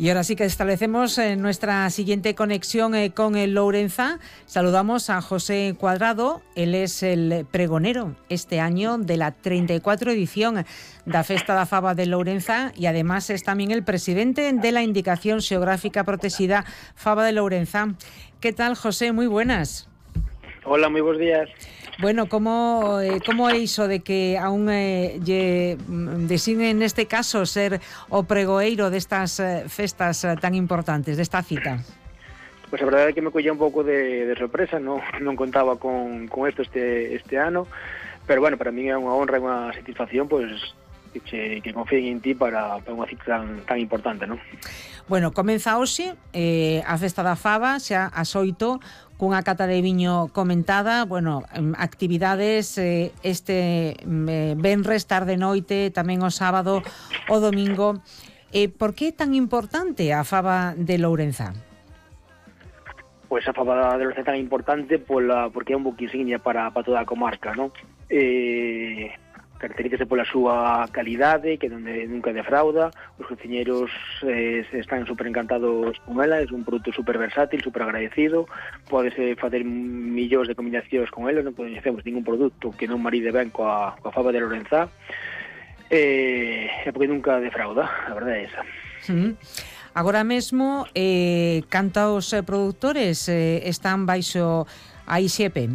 Y ahora sí que establecemos nuestra siguiente conexión con el Lourenzá. Saludamos a José Cuadrado. Él es el pregonero este año de la 34 edición da Festa da Faba de Lourenzá y además es también el presidente de la Indicación Xeográfica Protexida Faba de Lourenzá. ¿Qué tal, José? Muy buenas. Hola, moi bons días. Bueno, como é iso de que aún lle designen neste caso ser o pregoeiro destas festas tan importantes, desta cita? Pois a verdade é que me collía un pouco de sorpresa, non contaba con isto este ano, pero bueno, para mí é unha honra e unha satisfacción pois que confíen en ti para unha cita tan importante, non? Bueno, comeza hoxe a Festa da Faba, xa ás 8, cunha cata de viño comentada, bueno, actividades este venres, tarde noite, tamén o sábado, o domingo. Por que é tan importante a Faba de Lourenzá? Pois a Faba de Lourenzá é tan importante porque é un buque insignia para toda a comarca, non? Caracterízase pola súa calidade, que nunca defrauda, os cociñeiros están super encantados con ela, é un produto super versátil, super agradecido, podese facer millóns de combinacións con ela, non coñecemos ningún produto que non maride ben coa Faba de Lourenzá, porque nunca defrauda, a verdade é esa. Agora mesmo, cantos produtores están baixo a IXEP?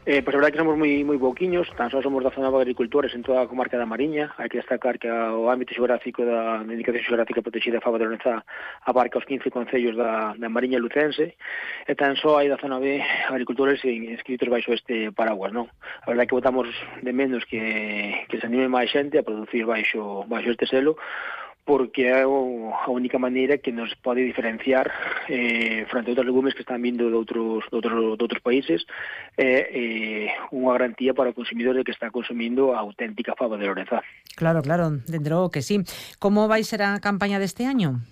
Pois a verdade é que somos moi pouquiños, tan só somos 19 agricultores en toda a comarca da Mariña. Hai que destacar que o ámbito xeográfico da Indicación Xeográfica Protexida Faba de Lourenzá abarca os 15 concellos da Mariña lucense, e tan só hai 19 agricultores inscritos baixo este paraguas, non? A verdade é que botamos de menos que se anime máis xente a producir baixo este selo, porque é a única maneira que nos pode diferenciar frente a outros legumes que están vindo de outros países, unha garantía para o consumidor de que está consumindo a auténtica Faba de Lourenzá. Claro, dende logo que sí. Como vai ser a campaña deste año?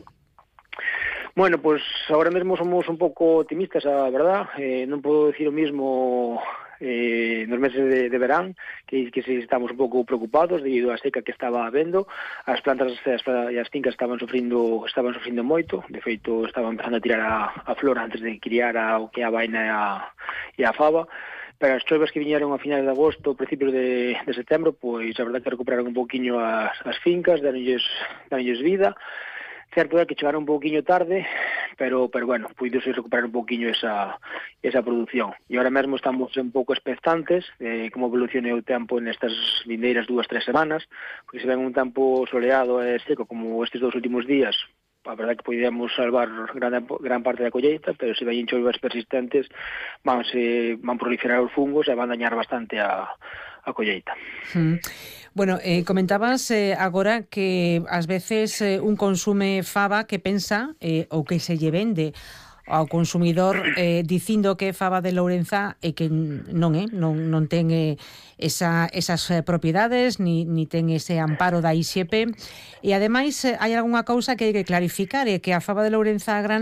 Bueno, pues agora mesmo somos un pouco optimistas, a verdad. Non podo decir o mismo nos meses de verán, que si estamos un pouco preocupados debido á seca que estaba habendo. As plantas e as fincas estaban sufrindo moito. De feito, estaban empezando a tirar a flor antes de criar o que é a vaina e a faba. Pero as choivas que viñeron a finais de agosto, principios de setembro, pois a verdade que recuperaron un pouquiño as fincas, daronlles vida. Certo é que chegaron un pouquiño tarde, pero bueno, puidose recuperar un pouquiño esa produción. E agora mesmo estamos un pouco expectantes de como evolucione o tempo nestas vindeiras 2-3 semanas, porque se ven un tempo soleado e seco como estes 2 últimos días, a verdade que podíamos salvar gran parte da colleita, pero se veñen choivas persistentes van proliferar os fungos e van dañar bastante a colleita. Bueno, comentabas agora que ás veces un consume faba que pensa ou que se lle vende ao consumidor dicindo que é faba de Lourenzá e que non é, non ten esas propiedades ni ten ese amparo da IXEP, e ademais hai algunha cousa que hai que clarificar, é que a faba de Lourenzá gran